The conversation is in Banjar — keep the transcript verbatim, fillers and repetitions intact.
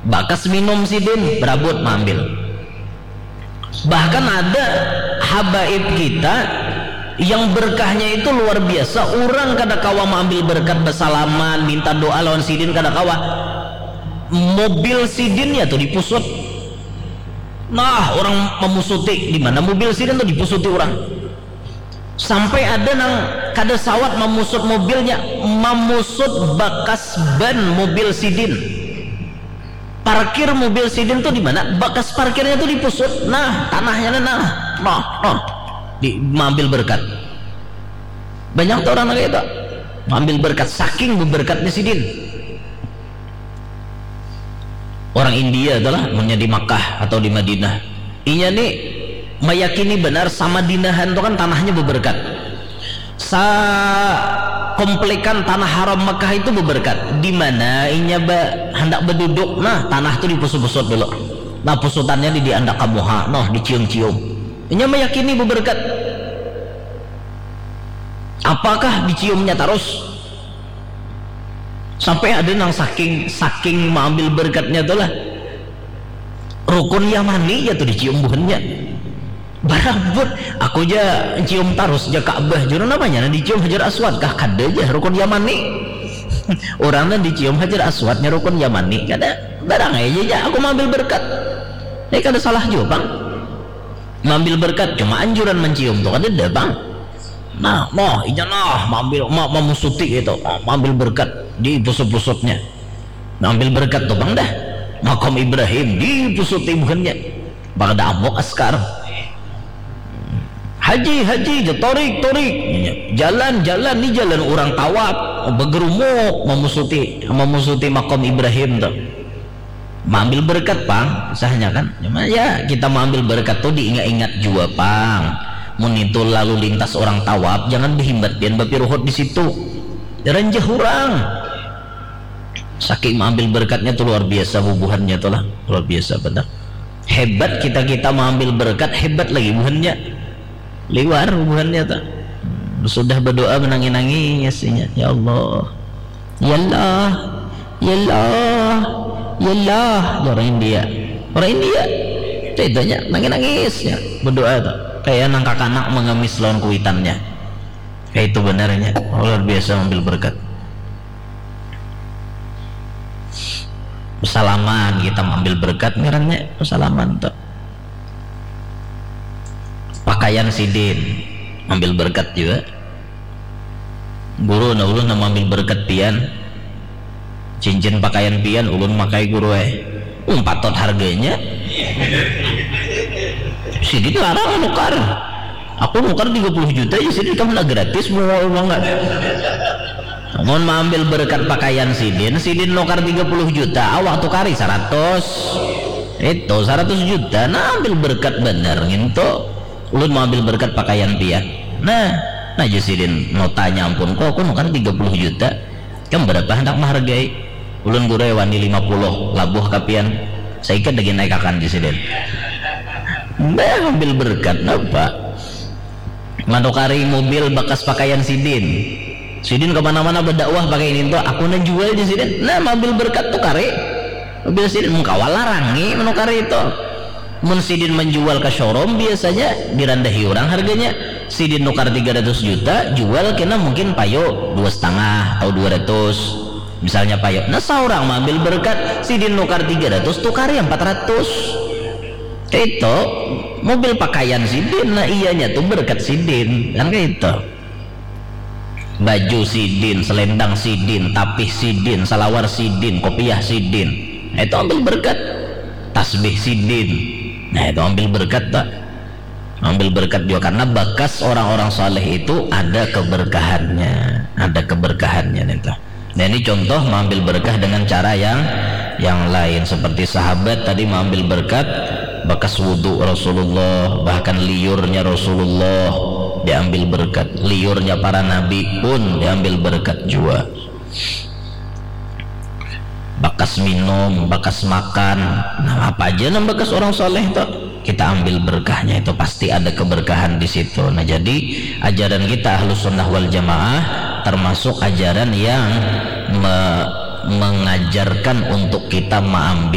Bakas minum sidin, berabut maambil. Bahkan ada habaib kita yang berkahnya itu luar biasa, orang kada kawa maambil berkat, basalaman, minta doa lawan sidin kada kawa. Mobil sidinnya tuh dipusut. Nah, orang mamusuti di mana mobil sidin tuh dipusuti orang. Sampai ada nang kada sawat mamusut mobilnya, mamusut bakas ban mobil sidin. Parkir mobil sidin tuh di mana? Bakas parkirnya tuh dipusut. Nah, tanahnya nah, nah, nah, nah. Di maambil berkat. Banyak tuh orang kayak itu. Maambil berkat, saking beberkatnya sidin. Orang India itulah, munnya di Makkah atau di Madinah. Inya nih meyakini benar sama dinahan tuh kan tanahnya beberkat. Sa komplikan tanah haram Mekah itu beberkat. Di mana inya ba, hendak beduduk, nah, tanah tuh dipusut-pusut dulu. Nah, pusutannya di, diandak ka muha, noh, dicium-cium. Inya meyakini beberkat. Apakah diciumnya terus? Sampai ada nang saking, saking maambil berkatnya tuh lah. Rukun Yamani ya tuh dicium buhannya. Barabut, aku ja cium tarus ja Ka'bah, juru namanya nah dicium Hajar Aswad kah? Kada ja, rukun Yamani. Orang nah dicium Hajar Aswadnya rukun Yamani, kada barang aja ja aku maambil berkat. Ini kada salah juga, Bang. Maambil berkat, cuma anjuran mencium tuh kada ada, Bang. Nah, noh, inya nah, maambil, ma, mamusuti gitu, ma, maambil berkat di pusut-pusutnya. Maambil berkat tuh, Bang, dah. Makam Ibrahim di pusut ibuhannya. Bang, ada amuk askar. Haji, haji, ja, torik, torik. Jalan, jalan, ni jalan orang tawaf, begerumuk, mamusuti, mamusuti makam Ibrahim tuh. Maambil berkat, Pang, sahnya kan. Cuma ya, kita maambil berkat tuh diingat-ingat jua, Pang. Mun itu lalu lintas orang tawaf, jangan behimbat pian bapiruhut di situ. Ranjah urang. Saking maambil berkatnya tuh luar biasa bubuhannya tuh lah, luar biasa benar. Hebat kita-kita maambil berkat, hebat lagi buhannya. Liwar buhannya tuh. Sudah berdoa menangis-nangis inya, "Ya Allah. Ya Allah. Ya Allah. Ya Allah." Ya orang India. Orang India. Itu itunya nangis-nangis ya. Berdoa tuh. Kayak nang kakanak mengemis lawan kuitannya. Kayak itu benarnya. Luar biasa ambil berkat. Salaman, kita ambil berkat ngarannya salaman tuh. Pakaian sidin ambil berkat juga. Guru, nah, ulun nang ambil berkat pian. Cincin pakaian pian ulun makai, Guru, eh. Um, patut harganya. Sidin larang nukar. Aku nukar tiga puluh juta aja, sidin kamu nak gratis mau uang nggak? Mun maambil berkat pakaian sidin, sidin nukar tiga puluh juta, awak tukari seratus. Itu seratus juta, nah, ambil berkat bener ngintu. Ulun mau ambil berkat pakaian pian. Nah, nah, ja sidin notanya, ampun, kok aku nukar tiga puluh juta. Kam berapa hendak menghargai? Ulun, Guru, wani lima puluh, labuh ka pian. Saikat lagi naikakan di sidin. Nah, ambil berkat napa? Manukari mobil bakas pakaian sidin. Sidin kemana-mana berdakwah pakai ini tuh, aku nang jual di sidin. Nah, ambil berkat tuh kari. Mobil sidin mengkawal larangi menukari itu. Mun sidin menjual ke showroom, biasanya dirandahi orang harganya. Sidin nukar tiga ratus juta, jual kena mungkin payo dua setengah atau dua ratus. Misalnya payo, nah, seorang mengambil berkat, sidin nukar tiga ratus, tukari empat ratus. Itu mobil pakaian sidin, nah, iyanya tuh berkat sidin, kan kayak itu. Baju sidin, selendang sidin, tapih sidin, salawar sidin, kopiah sidin. Nah, itu ambil berkat. Tasbih sidin. Nah, itu ambil berkat tak? Ambil berkat juga karena bakas orang-orang saleh itu ada keberkahannya, ada keberkahannya nih tuh. Nah, ini contoh mengambil berkah dengan cara yang yang lain, seperti sahabat tadi mengambil berkat bakas wudhu Rasulullah, bahkan liurnya Rasulullah diambil berkat, liurnya para nabi pun diambil berkat juga. Bakas minum, bakas makan, nah, apa aja nang bakas orang soleh tuh, kita ambil berkahnya, itu pasti ada keberkahan di situ. Nah, jadi ajaran kita Ahlus Sunnah wal Jamaah termasuk ajaran yang me- mengajarkan untuk kita mengambil